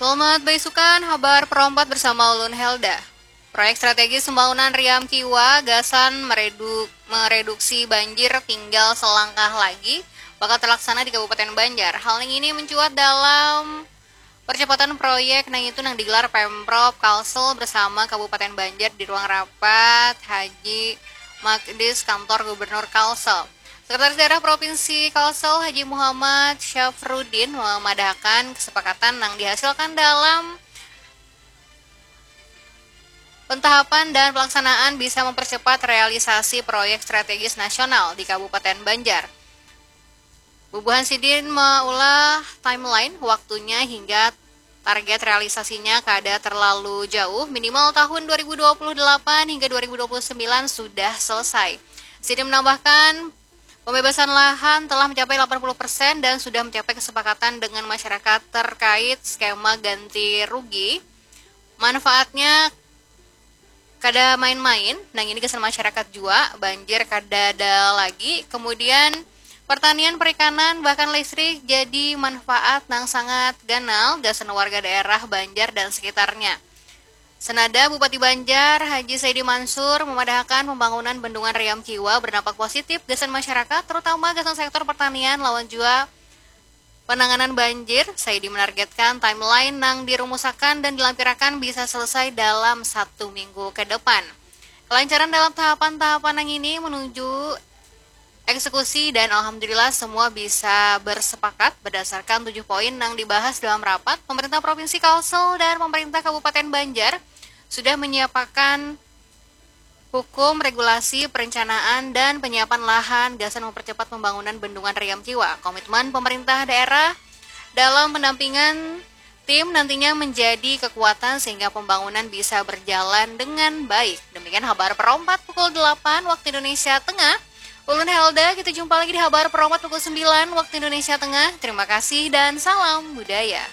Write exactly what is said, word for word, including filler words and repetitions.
Selamat baisukan, habar perompat bersama ulun Helda. Proyek strategis pembangunan Riam Kiwa gasan meredu- mereduksi banjir tinggal selangkah lagi bakal terlaksana di Kabupaten Banjar. Hal ini mencuat dalam percepatan proyek nang itu nang digelar Pemprov Kalsel bersama Kabupaten Banjar di ruang rapat Haji Makdis Kantor Gubernur Kalsel. Sekretaris Daerah Provinsi Kalsel Haji Muhammad Syafruddin memadahkan kesepakatan yang dihasilkan dalam pentahapan dan pelaksanaan bisa mempercepat realisasi proyek strategis nasional di Kabupaten Banjar. Bubuhan sidin maulah timeline waktunya hingga target realisasinya kada terlalu jauh, minimal tahun dua ribu dua puluh delapan hingga dua ribu dua puluh sembilan sudah selesai. Sidin menambahkan, pembebasan lahan telah mencapai delapan puluh persen dan sudah mencapai kesepakatan dengan masyarakat terkait skema ganti rugi. Manfaatnya kada main-main, nang ini gasan masyarakat jua, banjir kada ada lagi. Kemudian pertanian, perikanan, bahkan listrik jadi manfaat nang sangat ganal gasan warga daerah Banjar dan sekitarnya. Senada Bupati Banjar, Haji Saidi Mansur, memadahakan pembangunan bendungan Riam Kiwa berdampak positif gasan masyarakat, terutama gasan sektor pertanian lawan jua penanganan banjir. Saidi menargetkan timeline nang dirumusakan dan dilampirakan bisa selesai dalam satu minggu ke depan. Kelancaran dalam tahapan-tahapan yang ini menuju eksekusi dan alhamdulillah semua bisa bersepakat berdasarkan tujuh poin yang dibahas dalam rapat. Pemerintah Provinsi Kalsel dan Pemerintah Kabupaten Banjar sudah menyiapkan hukum, regulasi, perencanaan, dan penyiapan lahan gasan mempercepat pembangunan bendungan Riam Kiwa. Komitmen pemerintah daerah dalam pendampingan tim nantinya menjadi kekuatan sehingga pembangunan bisa berjalan dengan baik. Demikian habar perompat pukul delapan waktu Indonesia Tengah. Ulun Helda, kita jumpa lagi di habar perompat pukul sembilan waktu Indonesia Tengah. Terima kasih dan salam budaya.